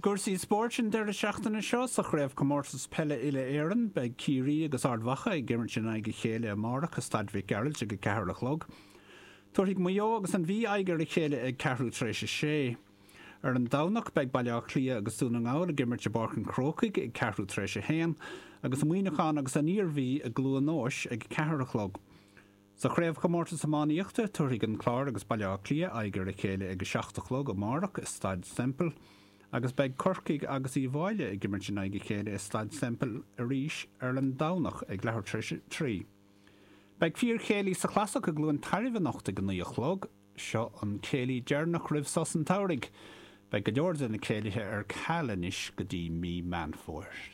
I gcúrsaí spóirt an deireadh seachtaine seo, sa Chraobhchomórtas Peile Uile-Éireann, beidh Ciarraí agus Ard Mhacha ag imirt in aghaidh a chéile amárach i Staid Mhic Gearailt ag 4 a chlog. Tabharfaidh Maigh Eo agus an Mhí aghaidh ar a chéile ag ceathrú tar éis a sé. Ar an Domhnach, beidh Baile Átha Cliath agus Dún na nGall ag imirt i bPáirc an Chrócaigh ag ceathrú tar éis a haon, agus Muineachán agus an Iarmhí i gCluain Eois ag 4 a chlog. Sa Chraobhchomórtas Iománaíochta, tabharfaidh an Clár agus Baile Átha Cliath aghaidh ar a chéile ag 7 a chlog amárach i Staid Semple agus beidh Corcaigh agus Uíbh Fhailí ag imirt in aghaidh a chéile i Staid Semple arís ar an Domhnach ag leathuair tar éis a 3. Beidh fíorchéilí sa Chlasach i gCluain Tairbh anocht ag 9 a chlog. Seo an céilí deireanach roimh sos an tsamhraidh. Beidh go leor de na céilithe ar ceal anois go dtí mí Meán Fómhair.